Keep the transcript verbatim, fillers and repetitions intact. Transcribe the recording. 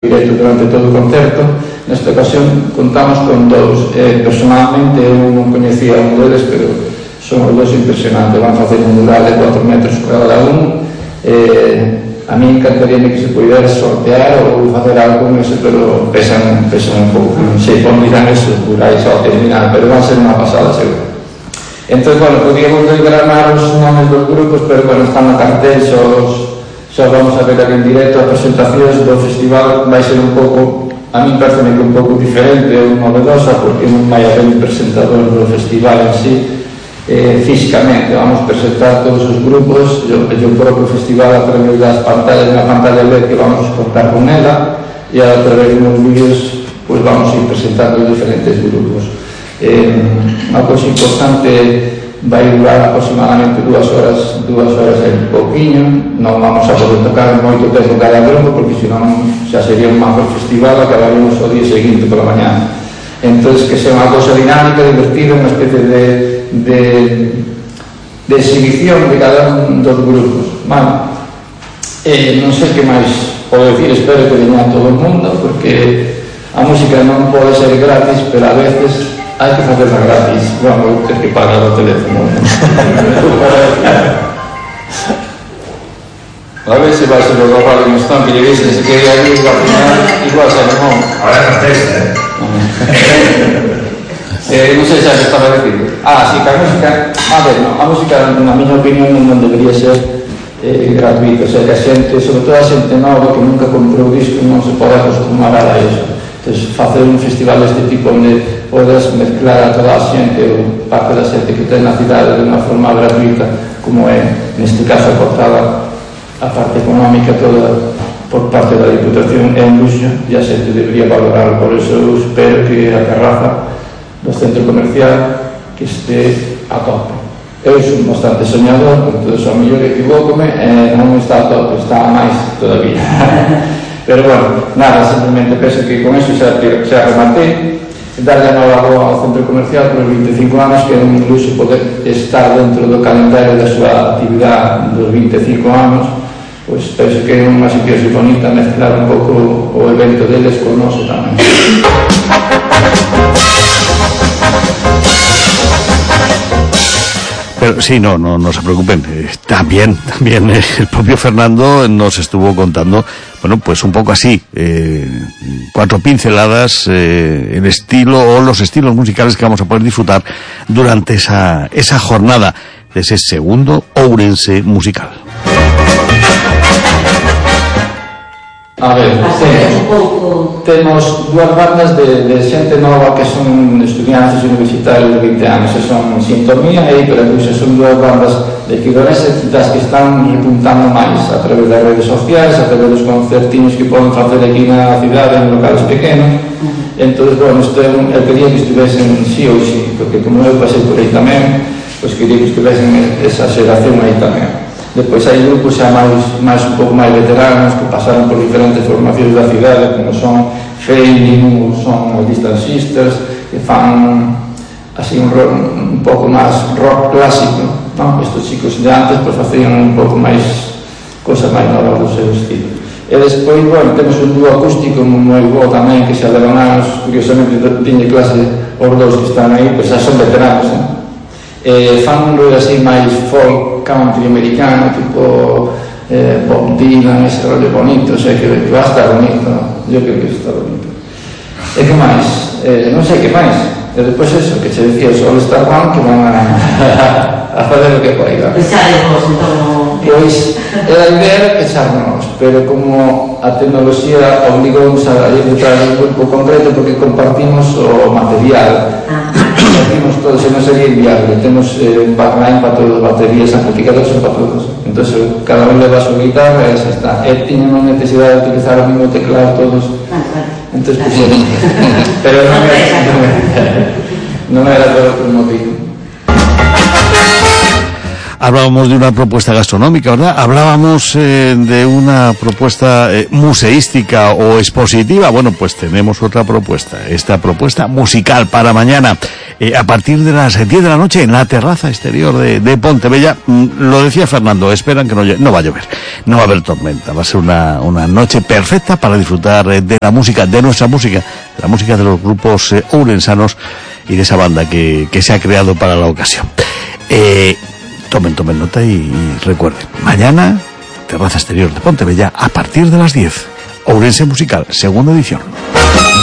directo durante todo o concerto. Nesta ocasión contamos con dous. Eh, personalmente eu non coñecía un deles, pero son os dous impresionantes. Van facer un mural de cuatro metros cada un. Eh, a mí encantaría que se pudera sortear ou facer algo con eso, pero pesan, pesan un pouco, non sei como dirán esos murais ao terminar, pero van a ser unha pasada seguro. Entón, bueno, podíamos desgranar os nomes dos grupos, pero bueno, están na cartel, xos xa vamos a ver aquí en directo. A presentacións do festival vai ser un pouco, a mí parece que un pouco diferente ou novedosa, porque non vai haber un presentador do festival en sí. Eh, físicamente vamos presentar todos os grupos e o propio festival a través das pantallas, na pantalla L E D que vamos a contar con ela, e a través dos vídeos pues vamos a ir presentando os diferentes grupos. Eh, unha cousa importante, vai durar aproximadamente dúas horas, dúas horas e un pouquinho. Non vamos a poder tocar moito tempo cada grupo, porque senón xa sería un macro festival, acabaríamos o día seguinte pola mañana. Entón, que sea unha cousa dinámica, divertida, unha especie de, de, de exhibición de cada un dos grupos. Bueno, eh, non sei que máis podo dicir, espero que veña todo o mundo, porque a música non pode ser gratis, pero a veces hai que facerla gratis. Bueno, ter que pagar o teléfono. A ver se vai ser o rapaz que nos están que lle dicen se quería ir a final, igual se non. Ahora é contesta, eh? eh non sei se xa estaba a decir. Ah, si, que a música, a ver, no, a música, na miña opinión, non debería ser eh, gratuita. O sea, que a xente, sobre todo a xente nova que nunca comprou disco, non se pode acostumar a iso. Entón, facer un festival deste tipo onde podes mezclar a toda a xente ou parte da xente que ten na cidade de unha forma gratuita, como é, neste caso, aportada a parte económica toda por parte da Diputación, é un luxo e a xente debería valorar. Por iso eu espero que a terraza do centro comercial que este a tope. Eu sou bastante soñador, entón, ao mellor equivócome, e non está a tope, está a máis todavía. Pero bueno, nada, simplemente penso que con eso xa, xa rematei. Darle a nova boa ao centro comercial por os veinticinco anos, que é un luxo poder estar dentro do calendario da súa actividade dos veinticinco anos. Pois penso que é unha situación bonita mezclar un pouco o evento deles con o noso tamén. Pero sí, no, no, no se preocupen. Eh, también, también eh, el propio Fernando nos estuvo contando, bueno, pues un poco así, eh, cuatro pinceladas, eh, el estilo o los estilos musicales que vamos a poder disfrutar durante esa, esa jornada de ese segundo Ourense musical. A ver, temos, temos dúas bandas de, de xente nova que son estudiantes universitarios de vinte anos, e son Sintonía e Hiperacúsia. Son dúas bandas de Quirolense das que están repuntando máis a través das redes sociais, a través dos concertinos que poden facer aquí na cidade, en locales pequenos. Entón, bueno, isto eu quería que estuvesen sí ou sí, porque como eu pasei por aí tamén, pois quería que estuvesen esa xeración aí tamén. Depois hai grupos xa máis, máis un pouco máis veteranos que pasaron por diferentes formacións da cidade, como son Failing ou son os Distant Sisters, que fan así un, rock, un pouco máis rock clásico, non? Estos chicos de antes pues, facían un pouco máis cosas máis novas do seu estilo. E despois, bueno, temos un dúo acústico moi bo tamén, que xa levan anos, curiosamente tiñe clase os dous que están aí, pois xa son veteranos, non? Eh, fan un rollo así máis folk country americano, tipo eh, Bob Dylan, ese rollo bonito, o sea, que, que va a estar bonito, ¿no? Yo creo que está bonito. E que máis? Eh, non sei que máis. E depois eso, que che decía, o All Star One, que van a, a fazer o que poida. Pensaremos, entón... Pois, era a idea era pecharnos, pero como a tecnoloxía obligounos a ir detrás de un grupo concreto, porque compartimos o material. Compartimos todo, se non sería inviable. Temos eh, un backline para todos, baterías, amplificadores para todos. Entón, cada un leva a súa guitarra e xa está. E tiñamos necesidade de utilizar o mismo teclado todos. Entón, pues, pero non era, non era todo por motivo. Hablábamos de una propuesta gastronómica, ¿verdad? Hablábamos eh, de una propuesta eh, museística o expositiva. Bueno, pues tenemos otra propuesta. Esta propuesta musical para mañana, eh, a partir de las diez de la noche, en la terraza exterior de, de Pontebella. Mm, lo decía Fernando, esperan que no, no va a llover, no va a haber tormenta. Va a ser una, una noche perfecta para disfrutar eh, de la música, de nuestra música, de la música de los grupos eh, ourensanos y de esa banda que, que se ha creado para la ocasión. Eh, Tomen, tomen nota y, y recuerden, mañana, terraza exterior de Pontebella, a partir de las diez, Ourense Musical, segunda edición.